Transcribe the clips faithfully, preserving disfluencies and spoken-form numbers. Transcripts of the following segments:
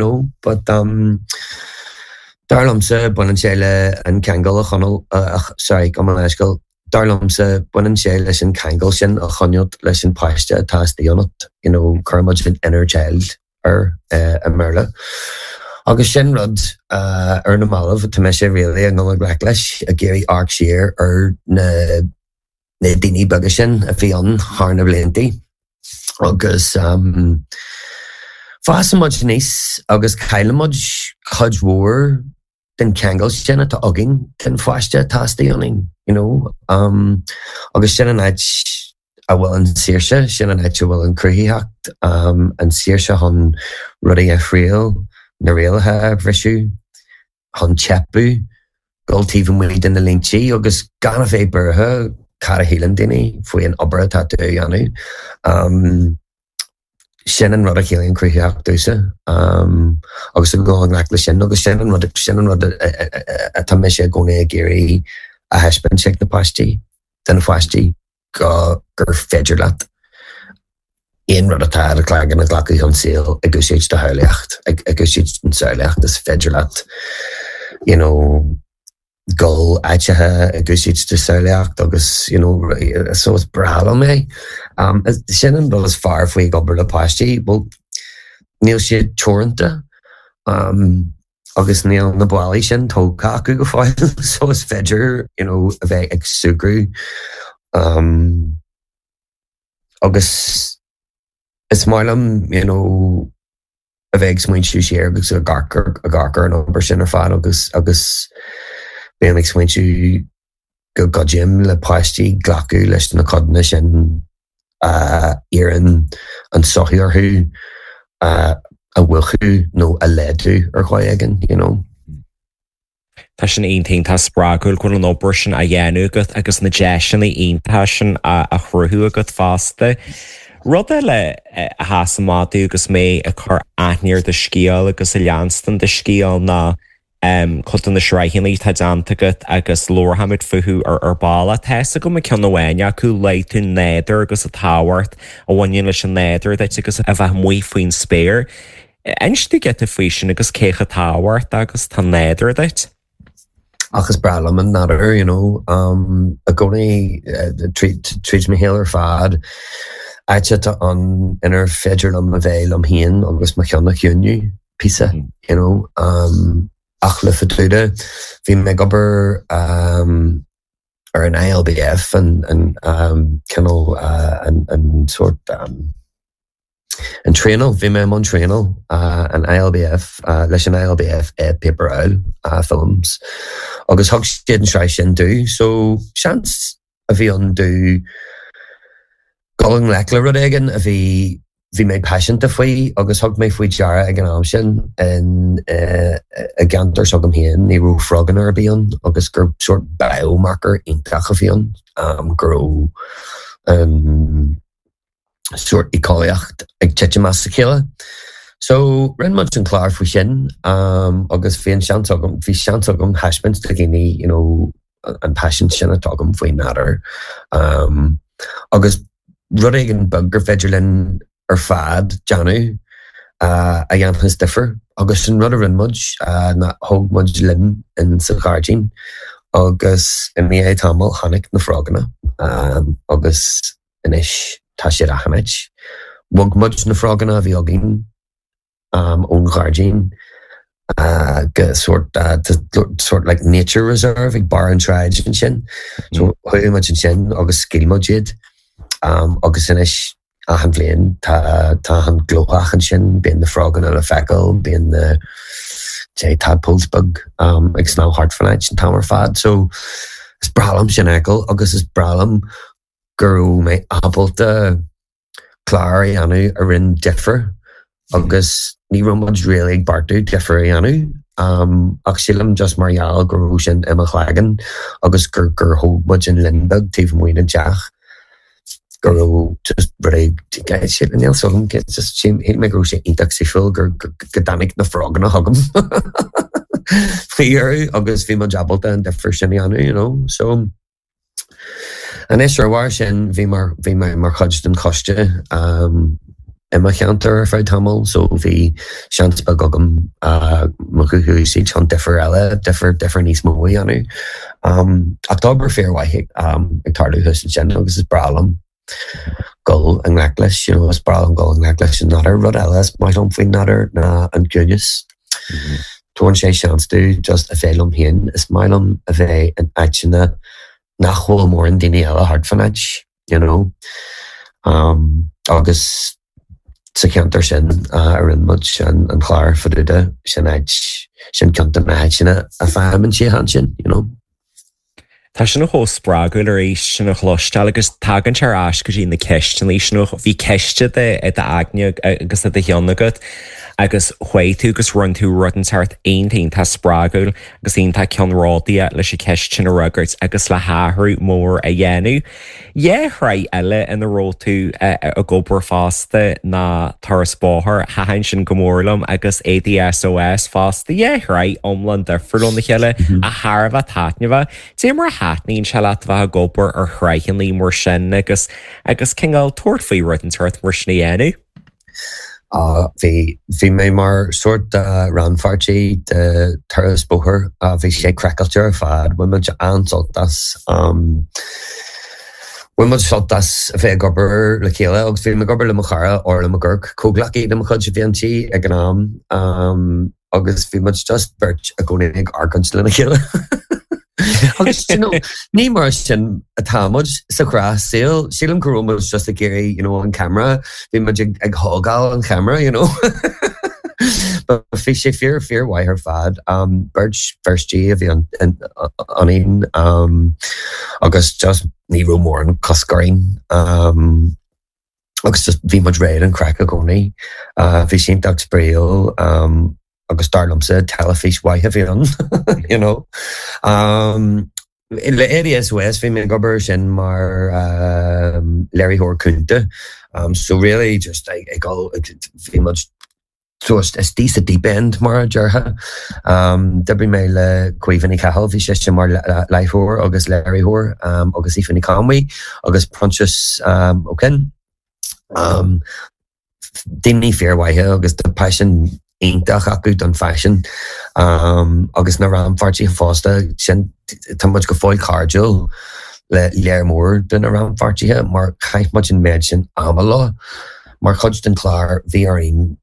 know, but um, dar liomsa baineann sé le an ceangal a choinneáil uh, sorry gabh mo leithscéal dar liomsa baineann sé leis an ceangal sin a choinneáil leis an páiste atá istigh ionat you know, cuirimid an inner child ar uh, i mBéarla. Agus sin rud uh, ar na mallaibh tá mé sé really an go leis ag iarraidh amharc siar ar na na daoine beaga sin a bhí ann thar na blianta. Agus um, fásann muid aníos agus caillimid cuid mhór den ceangal sin atá againn den pháiste atá istigh ionainn, you know? um, agus sin an áit a bhfuil an saoirse sin an áit a bhfuil an cruthaitheacht um, an saoirse chun rudaí a thriail na rialacha a bhriseadh chun teipeadh dul taobh amuigh de na línte agus gan a bheith buartha cad a shíleann daoine faoi an obair atá tú a dhéanamh. Um, sin an rud a chiallaíonn cruthaitheacht domhsa um, agus a go le sin agus sin an rud sin an rud atá mise i gcónaí ag iarraidh a thaispeáint ag na páistí den na páistí go gur féidir leat aon rud atá ar cloigeann a ghlacadh an saol ag úsáid do shamhlaíocht ag úsáid an samhlaíocht is féidir leat you know, dul áiteacha ag úsáid do shamhlaíocht agus you know, so is breá liom é. Um, sin an rud is fearr faoi ag obair le páistí, well, níl siad teoranta um, agus níl na ballaí sin tógtha acu go fóill so is féidir you know, a bheith ag súgradh um, agus is maith liom you know, a bheith ag smaointiú siar agus ag amharc ar an obair sin ar fad agus agus bím ag smaointiú go gcuidím le páistí glacadh leis na codanna sin a iarrann an tsochaí orthu a mhúchadh nó a laghdú ar dhóigh éigin, you know. Tá sin iontach tá spreagúil go bhfuil an obair sin á dhéanamh agat agus na deiseanna iontacha sin a chruthú agat fosta. Rud eile a sheas amach domh agus mé ag cur aithne ar do scéal agus ag leanstan do scéal ná um, cuid de na sraitheanna atá déanta agat agus labharfaimid fúthu ar ar ball. Tá a fhios agam ceann amháin acu luaigh tú nádúr agus an tábhacht a bhaineann leis an nádúr duit agus a bheith amuigh faoin spéir. Inis dúinn giota faoi sin agus cé chomh tábhachtach agus atá an nádúr duit. Ach is breá liom an nádúr, you know, um, i gcónaí uh, tríd mo shaol ar fad áit atá an inar féidir liom a bheith liom féin agus mo cheann a chiúnú píosa, you know, um, ach le Faduda bhí mé ag obair um, ar an ILBF an, an um, cineál uh, an, an sort um, an traenáil bhí mé an traenáil uh, an ILBF uh, leis an ILBF é Paper Owl uh, Films agus thug siad an sraith sin domh so seans a bhí ann domh dul i ngleic le rud éigin a bhí bhí mé paiseanta faoi agus thug mé faoi deara ag an am sin in uh, i gceantar s'agam féin ní raibh froganna ar bith ann agus gur sort biomarker iontach a bhí ann um, go raibh um, sort éiceolaíocht ag titim as a chéile. So rinne muid an clár faoi sin um, agus bhí an seans agam bhí seans agam thaispeáint do dhaoine you know, an passion sin atá agam faoin nádúr. Um, agus rud éigin beag gur féidir linn ar fad déanamh uh, a dhéanfas difear agus sin rud a rinne muid uh, ná thóg muid linn in sa ghairdín agus i ndiaidh tamaill tháinig na froganna um, agus anois tá siad achan áit. Bhog muid na froganna a bhí againn um, ón ghairdín uh, go sort uh, to, sort like nature reserve ag barr an tsráid ansin. So chuaigh muid ansin agus scaoil muid iad um, agus anois achan bhliain tá tá an glóthach ansin, bíonn na froganna le feiceáil, bíonn na dé tadpoles beag um, ag snámh thart fan áit an t-am ar fad. So is breá liom sin a fheiceáil agus is breá liom go raibh mé ábalta clár a dhéanamh a rinne difear agus ní raibh muid really ag beartú difear a dhéanamh. Um, ach sílim just mar gheall go raibh sin i mo chloigeann agus gur gur thóg muid an linn beag taobh amuigh den teach go raibh just rud níl a fhios agam just shíl mé go raibh sé iontach saoithiúil gur go dtáinig na froganna chugam faoi dheireadh agus bhí muid ábalta an difear sin a dhéanamh, you know. So anois ar bharr sin bhí mar bhí mé mar chuid den choiste um, i mo cheantar ar feadh tamaill so bhí seans beag agam mo ghuth a úsáid chun difear eile, difear, difear níos mó a dhéanamh. Ach tá obair fíormhaith ag tarlú thuas ansin agus is breá liom dul i ngleic leis, you know, is breá liom dul i ngleic leis an nádúr. Rud eile is maith liom faoin nádúr ná an ciúnas. Tugann sé seans domh just a bheith liom féin. Is maith liom a bheith in áiteanna nach bhfuil mórán daoine eile thart fán áit, you know. Um, agus sa cheantar sin a rinne muid an clár fadúda, sin áit, sin ceann de na háiteanna a fhaighim an tsíocháin sin, you know. Tá sin chomh spreagúil arís sin a chloisteáil agus tagann sé ar ais go dtí na ceisteanna sin. Bhí ceist i d'aigne agus i do cheann agat agus chuaigh tú agus rinne tú rud inteacht iontach iontach spreagúil agus iontach ceannródaíoch leis an cheist sin a fhreagairt agus le hathrú mór a dhéanamh. Dhá shraith eile ina raibh tú ag obair fosta ná Turas Bóthair, thaitin sin go mór liom, agus Éadaí SOS fosta. Dhá shraith iomlán difriúil óna chéile ach thar a bheith taitneamhach. Cad é mar a thaitníonn sé leat a bheith ag obair ar shraitheanna mar sin agus agus cineál tabhairt faoi rud inteacht mar sin a dhéanamh? Bhí bhí mé mar sórt rannpháirtí de Turas Bóthair. Bhí sé craiceáilte ar fad. Bhain muid an-sult as. Bhain muid sult as a bheith ag obair le chéile agus bhí mé ag obair le mo chara Orla McGurk, comhghleacaí de mo chuid a bhí inti ag an am agus bhí muid just beirt i gcónaí ag argóint lena chéile. Agus you know, ní mar sin atá muid sa ghnáthshaol, sílim go raibh muid just ag iarraidh you know, an camera, bhí muid ag, ag thógáil an camera, you know. But bhí sé fíor fíormhaith ar fad. Um, beirt Fheirstí a bhí ionainn um, agus just ní raibh mórán cosc orainn. Um, agus just bhí muid réidh don chraic i gcónaí. Uh, bhí sé iontach spraíúil um, agus dar liomsa teilifís mhaith a bhí ann, you know. Um, le Éadaí SOS bhí mé ag obair sin mar um, léiritheoir cúnta. Um, so really just ag ag bhí muid so istigh sa deep end mar a déarfá. Um, D'oibrigh mé le Caoimhe Ní Chathail, bhí sise mar láithreoir agus léiritheoir um, agus Aoife Ní Conmhaí agus Proinsias um, Ó Coinn. Um, daoine fíormhaithe agus tá paisean iontach acu don faisean um, agus na rannpháirtithe fosta sin tá muid go fóill cairdiúil le léir mór de na rannpháirtithe mar chaith muid an méid sin ama leo. Mar chuid den chlár bhí orainn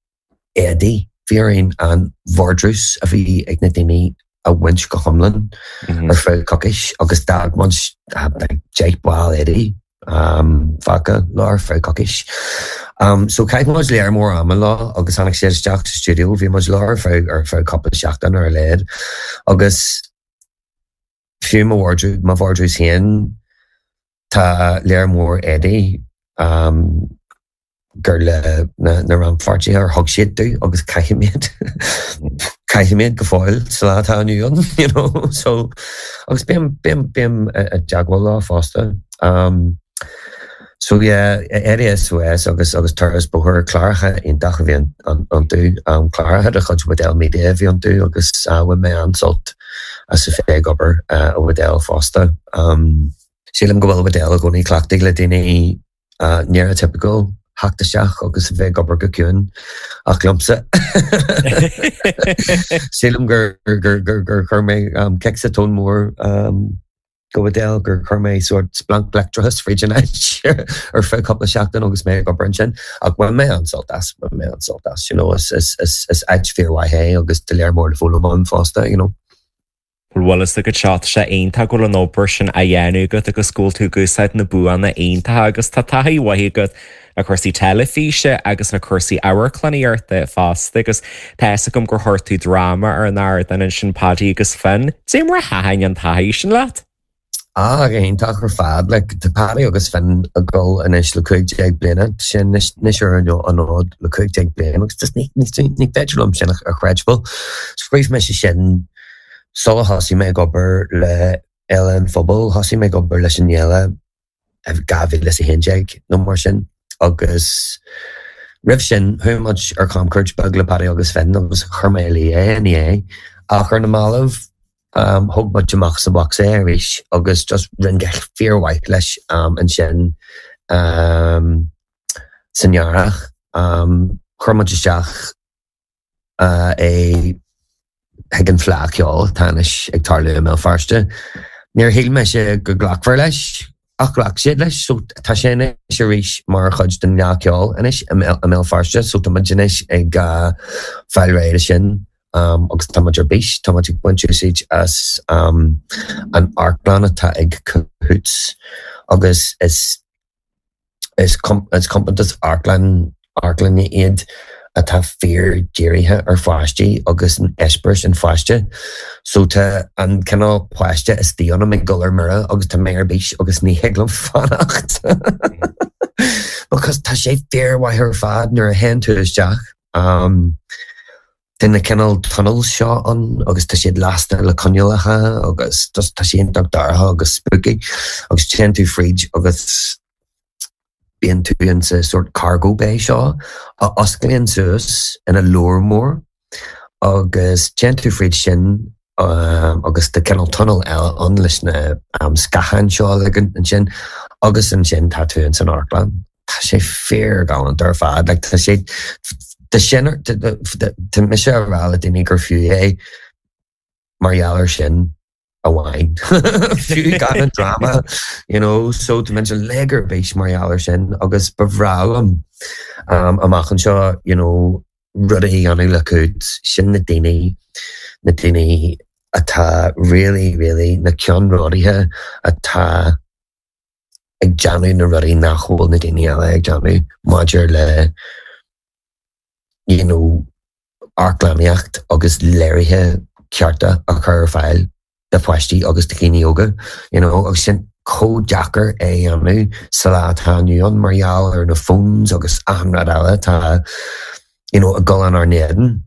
éadaí, bhí orainn an vardrús a bhí ag na daoine a bhaint go hiomlán ar feadh coicís agus d'fhág muid deich ball éadaí um, fágtha leo ar feadh coicís. Um, so chaith muid léir mór ama leo agus tháinig siad isteach sa studio, bhí muid leo ar feadh ar feadh cúpla seachtain ar a laghad agus fiú mo mo vardrús féin tá léir mór éadaí um, gur le na, na rannpháirtithe ar thug siad domh agus caithim iad caithim iad go fóill sa lá atá inniu ann, you know so agus bím bím bím i dteagmháil leo fosta. Um, so yeah, Éadaí SOS agus agus Turas Bóthair cláracha iontach a bhí iontu um, cláracha de chuid Waddell Media a bhí iontu agus uh, bhain mé an-sult as a bheith ag obair uh, i Waddell fosta. Um, sílim go bhfuil Waddell i gcónaí cleachtaithe le daoine uh, neurotypical theacht isteach agus a bheith ag obair go ciúin ach liomsa. Sílim gur gur gur gur chuir mé um, cic sa tóin mór um, go Waddell gur chuir mé sort splanc leictreachais fríd an áit ar feadh cúpla seachtain agus mé ag obair ansin ach bhain mé an-sult as bhain mé an-sult as you know, is, is, is, is áit fíormhaith é agus tá léir mór le foghlaim ann fosta you know. Bhfuil a fhios agat seo sé iontach go bhfuil an obair sin á dhéanamh agat agus go bhfuil tú ag úsáid na buanna iontacha agus tá taithí mhaith agat le cúrsaí teilifíse agus le cúrsaí amharclannaíochta fosta agus tá a fhios agam gur chuir tú dráma ar an ardán ansin Paddy agus Finn. Cad é mar a thaitin an taithí sin leat? Ah, go hiontach ar fad le tá Paddy agus Finn ag dul anois le cúig déag bliana sin anois ar an fhód le cúig déag bliana agus just ní ní ní féidir liom sin a chreidbheáil. Scríobh mé sin sula thosaigh mé ag obair le Fhéile an Phobail, thosaigh mé ag obair leis an fhéile dhá mhíle is a haon déag nó mar sin agus roimh sin chuaigh muid ar camchuairt beag le Paddy agus Finn agus chuir mé i luí é ina dhiaidh ach ar na mallaibh um, thóg muid amach sa box é arís agus just rinne fíormhaith leis um, ansin um, san earrach Um, chuir muid isteach uh, é chuig an Fleadh Cheoil atá anois ag tarlú i mBéal Feirste. Níor shíl mise go nglacfar leis ach ghlac siad leis, so tá sé anois arís mar chuid den Fhleadh Cheoil anois i mBéal Feirste, so tá muid anois ag uh, fáil réidh sin um, agus tá muid ar bís, tá muid ag baint úsáid as um, an amharclann atá ag Cahoots agus is is, com is compántas amharclann amharclainne iad atá fíor-dírithe ar pháistí agus an eispéireas an pháiste. So tá an cineál páiste istigh ionam ag dul ar mire agus tá mé ar bís agus ní thig liom fanacht. Because tá sé fíormhaith ar fad nuair a théann tú isteach. Um, Tá na cineál tunnels seo ann agus tá siad lasta le coinnealacha agus tá sé iontach dorcha agus spooky agus téann tú fríd agus bíonn tú in sa sort cargo bay seo a osclaíonn suas ina leabhar mór agus téann tú fríd sin um, agus tá cineál tunnel eile ann leis na um, scátháin seo ansin agus ansin tá tú in san amharclann. Tá sé fíorghalánta ar fad, like, tá sé Tá sin tá mise a rá le daoine gur fiú é mar gheall air sin amháin. Fiú gan an drama, you know, so tá mé uilig ar bís mar gheall air sin agus ba bhreá liom um, amach anseo you know, rudaí a dhéanamh le Cahoots sin na daoine na daoine atá really really na ceannródaithe atá ag déanamh na rudaí nach bhfuil na daoine eile ag déanamh maidir le you know, amharclannaíocht agus léirithe cearta a chur ar fáil do pháistí agus do dhaoine óga, you know, agus sin chomh deacair é a dhéanamh sa lá atá inniu ann mar gheall ar na phones agus achan rud eile atá you know, ag dul inár n-éadan.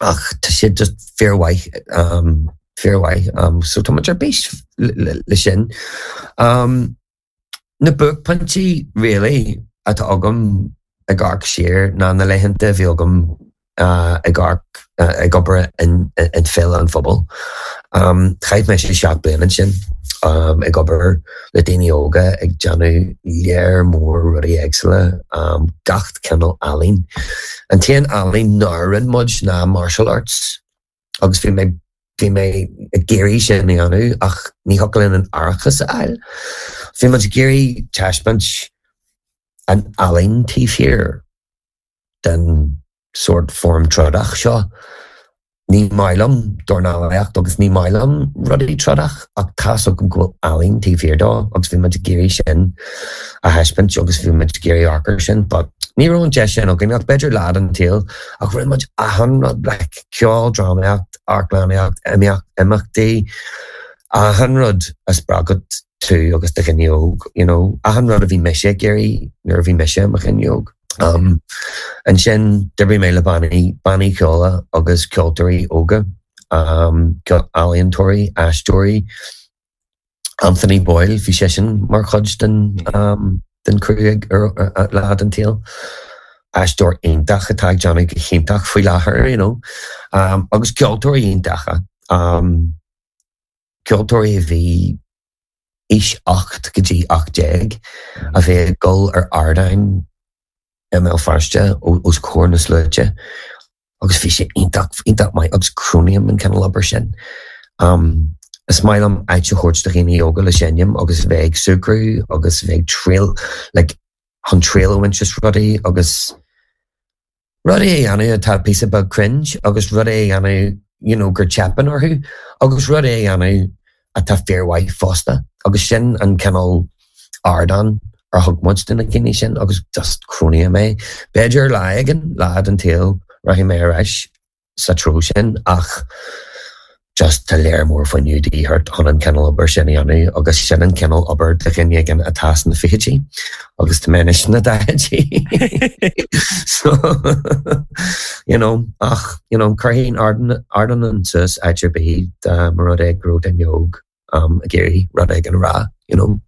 Ach tá siad just fíormhaith um, fíormhaith um, so tá muid ar bís le, le sin. Um, na buaicphointí really atá agam ag amharc siar ná na laethanta a bhí agam uh, ag amharc uh, ag obair in, in Féile an Phobail. Um, Chaith mé sé seacht bliana sin um, ag obair le daoine óga ag déanamh léar mór rudaí éagsúla um, gach cineál ealaín. An t-aon ealaín nár rinne muid ná martial arts agus bhí mé bhí mé ag iarraidh sin a dhéanamh ach ní thiocfadh linn an árachas a fháil. Bhí muid ag iarraidh taispeáint an ealaín taobh thiar den sort form trodach seo. Ní maith liom dornálaíocht agus ní maith liom rudaí trodach ach tá agam go bhfuil ealaín taobh thiar dó agus bhí muid ag iarraidh sin a thaispeáint agus bhí muid ag iarraidh amharc air sin, but ní raibh an deis sin againn ach b'fhéidir lá den tsaol ach rinne muid achan rud like ceol, drámaíocht, amharclannaíocht, imeacht, imeachtaí, achan rud a spreagfadh tú agus do dhuine óg, you know, achan rud a bhí mise ag iarraidh nuair a bhí mise i mo dhuine óg. Um, ansin d'oibrigh mé le bannaí bannaí ceoil agus ceoltóirí óga, um, ealaíontóirí, aisteoirí, Anthony Boyle bhí seisean mar chuid den um, den crew ag ar lá den tsaol. Aisteoir iontach atá ag déanamh go hiontach faoi láthair, you know. Um, agus ceoltóirí iontacha. Um, ceoltóirí a bhí aois ocht go dtí ocht déag a bhí ag dul ar ardáin i mBéal Feirste os comhair na sluaite agus bhí sé iontach iontach maith agus cronaím an cineál obair sin. Um, is maith liom áit a thabhairt do dhaoine óga le seinm agus bheith ag súgradh agus bheith ag triail like, chun triail a bhaint as rudaí agus rudaí a dhéanamh atá píosa beag cringe agus rudaí a dhéanamh you know, gur teipeann orthu agus rudaí a dhéanamh atá fíormhaith fosta agus sin an cineál ardán ar thug muid do na daoine sin agus just cronaím é. B'fhéidir lá éigin lá den tsaol rachaidh mé ar ais sa treo sin ach just tá léar mór fuinneamh de dhíth ort chun an cineál obair sin a dhéanamh agus sin an cineál obair do dhuine éigin atá sna fichidí agus tá mé anois sna daichidí. so you know, ach you know, chuirfinn ardán an suas áit ar bith dá mba rud é go raibh duine óg um, ag iarraidh rud éigin a rá, you know.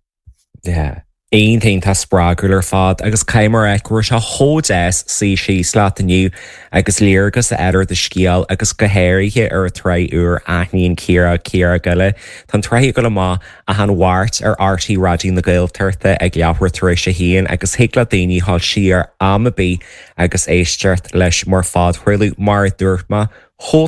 Yeah. Iontach spreagúil ar fad agus caithfidh mé go raibh sé chomh deas suí síos leat inniu agus léargas a fháil ar do scéal agus go háirithe ar an tsraith úr Aithníonn Ciara Ciara Gile. Tá an tsraith ag dul amach achan Mháirt ar RTÉ Raidió na Gaeltachta ag leathuair tar éis a haon agus thig le daoine dul siar am ar bith agus éisteacht leis mar phodchraoladh mar a dúirt mé chomh